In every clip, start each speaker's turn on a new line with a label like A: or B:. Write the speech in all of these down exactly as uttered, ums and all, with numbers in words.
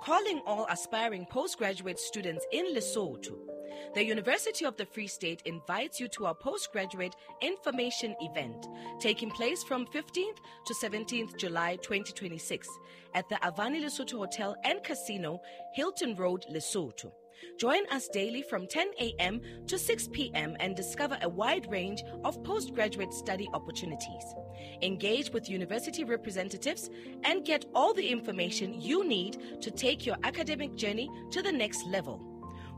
A: Calling all aspiring postgraduate students in Lesotho. The University of the Free State invites you to our postgraduate information event taking place from fifteenth to seventeenth July twenty twenty-six at the Avani Lesotho Hotel and Casino, Hilton Road, Lesotho. Join us daily from ten A M to six P M and discover a wide range of postgraduate study opportunities. Engage with university representatives and get all the information you need to take your academic journey to the next level.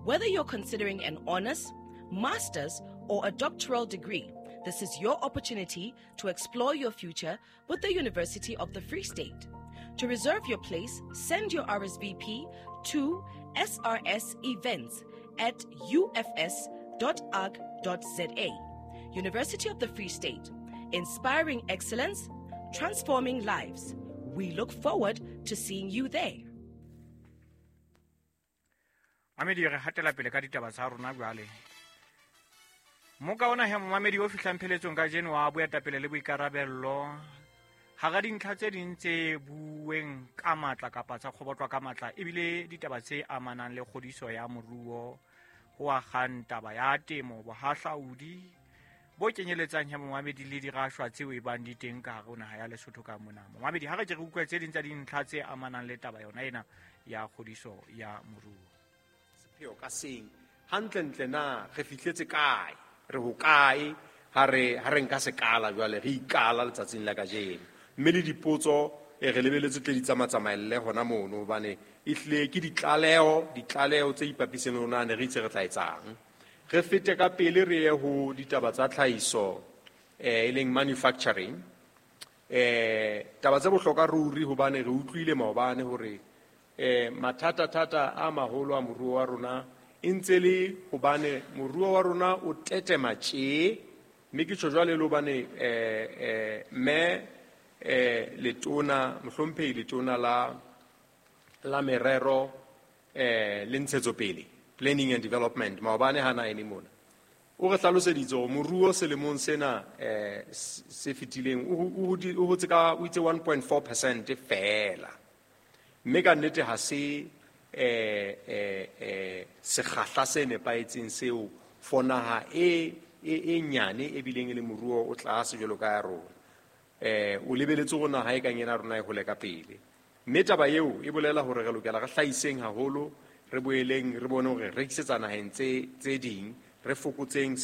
A: Whether you're considering an honors, master's, or a doctoral degree, this is your opportunity to explore your future with the University of the Free State. To reserve your place, send your R S V P to S R S events at U F S dot org dot Z A. University of the Free State, inspiring excellence, transforming lives. We look forward to seeing you there.
B: Mamedi, re hatela pele ka ditaba tsa rona jwale. Moka ona he momamedi o fihlang pheletsong kajeno wa boetapele le boikarabello. Hara dintlha tse ding tse bueng ka matla kapa tsa kgobotlwa ka matla ebile ditaba tse amanang le kgodiso ya moruo, ho akgang taba ya temo, bohahlaudi bo kenyeletsang he momamedi le dirashwa tseo e bang di teng ka hare ho naha ya Lesotho ka mona. Momamedi, ha re ke re utlwe tse ding tsa dintlha tse amanang le taba yona ena ya kgodiso ya moruo.
C: Sepheo ka seng hantlentle na re fihletse kae, re hokae ha re ha re nka sekala jwale re ikala letsatsing la kajeno, mme le dipotso e re lebeletse tle di tsamatsamaelle hona mono hobane ehlile ke ditlaleho ditlaleho tse ipapiseng le rona ne re itse re tla etsang. Re fete ka pele re ye ho ditaba tsa tlhahiso, eh, e leng manufacturing. Eh, taba tse bohlokwa ruri hobane re utlwile maobane hore eh mathata-thata a maholo a moruo wa rona e ntse le hobane moruo wa rona o tetema tje, mme ke tjho jwale le hobane eh, eh, mme, eh, letona, mohlomphehi letona la, la merero, eh, le ntshetsopele, planning and development, maobane ha na eme mona o re hlaloseditse hore moruo selemong sena, eh, se fetileng o, o, o hotse ka, o itse one point four percent feela. Mme ka nnete ha se, eh, eh, eh, sekgahla se nepahetseng seo for naha e, e, e nyane e bileng e le moruo o tlase jwalo ka ya rona. Eh, o lebeletse hore naha e kang ena rona e hole ka pele. Mme taba eo e bolela hore re lokela re hlahiseng haholo, re boeleng re bone hore re rekisetsa naheng tse, tse ding, re fokotseng